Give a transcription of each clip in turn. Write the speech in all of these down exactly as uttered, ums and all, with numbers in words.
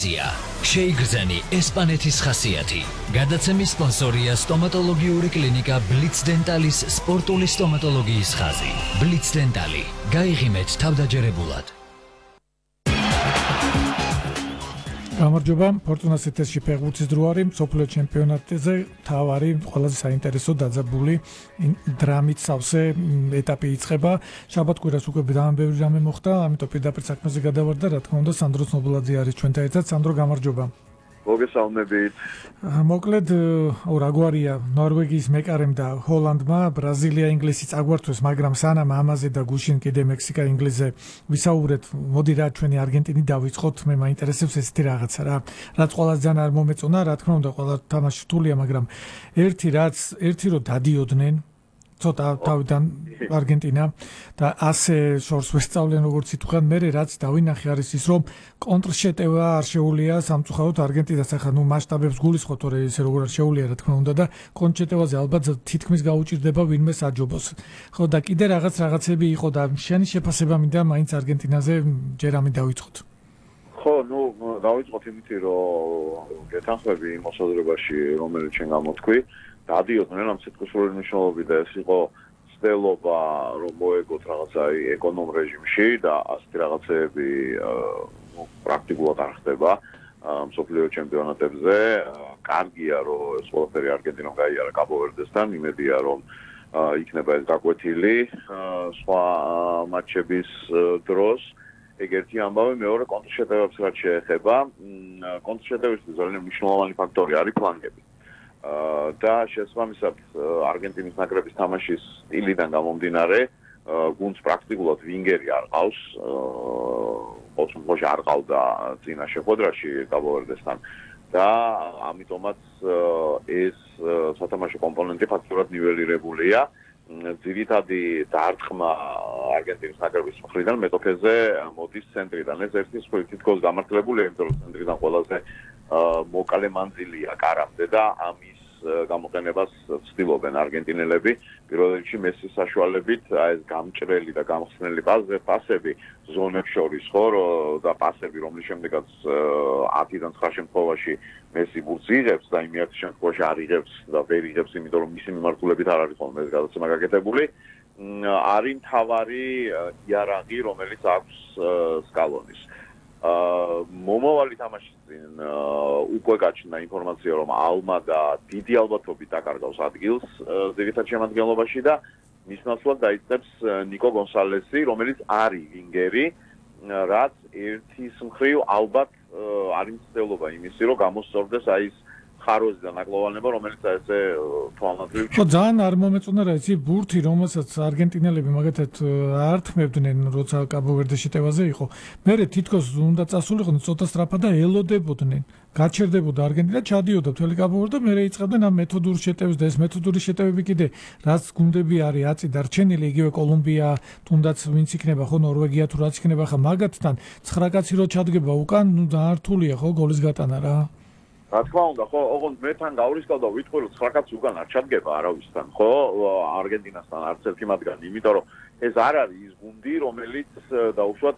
შეიგრძენი ესპანეთის ხასიათი. გადაცემის სპონსორია სტომატოლოგიური კლინიკა ბლიც დენტალის სპორტული სტომატოლოგიის ხაზი. ბლიც დენტალი. გაიღიმეთ თავდაჯერებულად. გამარჯობა, ფორტუნას ეთერში ფეხბურთის დრო არის, მსოფლიო ჩემპიონატზე თავარი ყველაზე საინტერესო დაძაბული დრამით სავსე ეტაპი იწყება. შაბათ-კვირას უკვე დამბევრი რამე მოხდა, ამიტომ პირდაპირ საქმეზე გადავარდა, რა თქმა უნდა, სანდრო ცნობილაძე არის ჩვენთან ერთად. სანდრო, გამარჯობა. მოგესალმებით. მოკლედ, რაგვარია ნორვეგიის მეკარემ და ჰოლანდმა ბრაზილია ინგლისი წაგვართვეს, მაგრამ სანამ ამაზე და გუშინ კიდე მექსიკა ინგლისზე ვისაუბრეთ, მოდი რა ჩვენი არგენტინი დავიწყოთ, მე მაინტერესებს ესეთი რაღაცა რა. რაც ყველაზე ძალიან არ მომეწონა, რა თქმა უნდა, ყველა თამაში რთულია, მაგრამ ერთი რაც, ერთი რო დადიოდნენ ცოტა თავიდან არგენტინა და ასე შორს ვესწავლენ როგორც ითქვან, მე რაც დავინახე არის ის რომ კონტრშეტევა არ შეუულია სამწუხაროდ არგენტინას ახლა ნუ მასშტაბებს გულისხმობ თორე ესე როგორ არ შეუულია რა თქმა უნდა და კონტრშეტევაზე ალბათ თითქმის გაუჭირდება ვინმე საჯობოს. ხო და კიდე რაღაც რაღაცები იყო და შენი შეფასება მინდა მაინც არგენტინაზე ჯერ ამი დავიწყოთ. ხო, ნუ დავიწყოთ იმით რომ გეთანხმები იმ მოსაზრებაში რომელიც შენ გამოთქვი. დადიოდნენ ამ სიტყვისეული მნიშვნელობით და ეს იყო ცდელობა რომ მოეგოთ რაღაცა ეკონომ რეჟიმში და ასეთი რაღაცეები პრაქტიკულად არ ხდება მსოფლიო ჩემპიონატებზე. კარგია რომ ეს ყველაფერი არგენტინამ გაიარა კაბო-ვერდესთან, იმედია რომ იქნება ეს გაკვეთილი სხვა მატჩების დროს. ეგ ერთი ამბავი, მეორე კონტრშეტევებს რაც შეეხება, კონტრშეტევისთვის ძალიან მნიშვნელოვანი ფაქტორი არის ფლანგები. და შესაბამისად არგენტინის ნაკრების თამაშის სტილიდან გამომდინარე გუნდს პრაქტიკულად ვინგერი არ ყავს ოთხმოცი არ ყავდა წინა შეხვედრაში კაბო-ვერდესთან და ამიტომაც ეს სათამაშო კომპონენტი ფაქტურად ნიველირებულია ძირითადი დარტყმა არგენტინის ნაკრების მხრიდან მეტოქეზე მოდის ცენტრიდან ეს ერთი სხვით თითქოს გამართლებულია იმიტომ რომ ცენტრიდან ყველაზე მოკალე მანძილია კარამდე და ამის გამოყენებას ცდილობენ არგენტინელები პირველ რიგში მესის საშუალებით აი ეს გამჭრელი და გამხსნელი პასები ზონებს შორის ხო და პასები რომლის შემდეგაც ათიდან ცხრა შემთხვევაში მესი ბურთს იღებს და იმ ერთ შემთხვევაში არ იღებს და ვერ იღებს იმიტომ რომ მისი მიმართულებით არ არის ხოლმე ეს გადაცემა გაკეთებული არის მთავარი იარაღი რომელიც აქვს სკალონის მომავალი თამაშის წინ უკვე გაჩნდა ინფორმაცია რომ ალმადა დიდი ალბათობით დაკარგავს ადგილს ძირითად შემადგენლობაში და მის ნაცვლად დაიწყებს ნიკო გონსალესი რომელიც არის ვინგერი რაც ერთის მხრივ ალბათ არის მცდელობა იმისი რომ გამოსწორდეს აი ეს ხაროზი და ნაკლოვანება რომელიც ესე თვალნათლივ ხო ძალიან არ მომეწონა რა იცი ბურთი რომელსაც არგენტინელები მაგათად ართმევდნენ როცა კაბო-ვერდეში შეტევაზე იყო მე თითქოს უნდა წასულიყვნენ ცოტა სწრაფად და ელოდებოდნენ გაჩერდებოდა არგენტინა ჩადიოდა მთელი კაბო-ვერდე და მე იწყებდნენ ამ მეთოდურ შეტევებს და ეს მეთოდური შეტევები კიდე რაც გუნდები არის აწი დარჩენილი იგივე კოლუმბია თუნდაც ვინც იქნება ხო ნორვეგია თუ რაც იქნება ხა მაგათთან ცხრა კაცი რო ჩადგება უკან ნუ ძალიან რთულია ხო გოლის გატანა რა რა თქმა უნდა, ხო, ოღონდ მე თან გავრისკავდა ვიტყვი რომ ცხრა კაცი უკან არ ჩადგება არავისთან, ხო, არგენტინასთან არც ერთი მათგანი, იმიტომ რომ ეს არ არის ის გუნდი, რომელიც დაუშვათ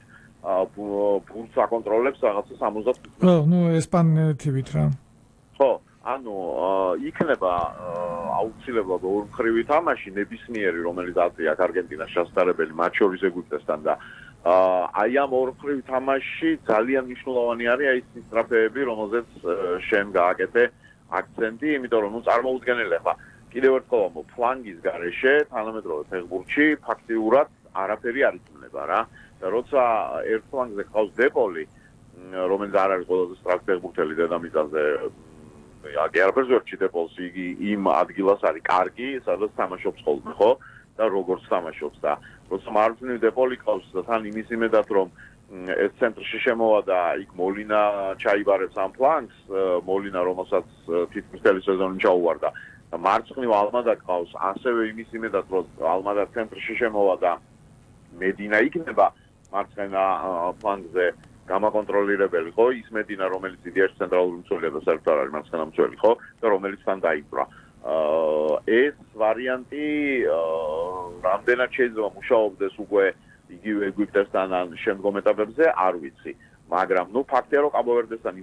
ბურთს აკონტროლებს რაღაცა სამოცდათხუთი. ხო, ნუ ესპანეთივით რა. ხო, ანუ იქნება აუცილებლად ორმხრივი თამაში ნებისმიერი, რომელიც აწია არგენტინას შესაძლებელი მათ შორის ეგვიპტესთან და აი ამ ორმხრივ თამაში ძალიან მნიშვნელოვანი არის აი ეს სტრაფეები, რომელზეც შენ გააკეთე აქცენტი, იმიტომ რომ ნუ წარმოუდგენელი ხა. კიდევ ერთხელ ამბობ, ფლანგის გარეშე თანამედროვე ფეხბურთში ფაქტიურად არაფერი არ იწუნება რა. და როცა ერთ ფლანგზე ყავს დეპოლი, რომელიც არ არის ყველაზე სწრაფი ფეხბურთელი დედამიწაზე, აგერბერზორჩი დეპოლს იგი იმ ადგილას არის კარგი, სადაც თამაშობს ხოლმე, ხო? და როგორც თამაშობს და როცა მარჯვნივ დეპოლი ყავს და თან იმის იმედად რომ ეს ცენტრში შემოვა და იქ მოლინა ჩაიბარებს ამ ფლანგს, მოლინა რომელსაც თითქმის მთელი სეზონი ჩაუვარდა და მარცხნივ ალმადა ყავს, ასევე იმის იმედად რომ ალმადა ცენტრში შემოვა და მედინა იქნება მარცხენა ფლანგზე გამაკონტროლირებელი, ხო, ის მედინა რომელიც იდეაში ცენტრალური მცველია და საერთოდ არ არის მარცხენა მცველი, ხო, და რომელიც თან დაიბრა. ეს ვარიანტი რამდენად შეიძლება მუშაობდეს უკვე იგივე ეგვიპტესთან ან შემდგომ ეტაპებზე არ ვიცი. მაგრამ ნუ ფაქტია რომ კაბო ვერდესთან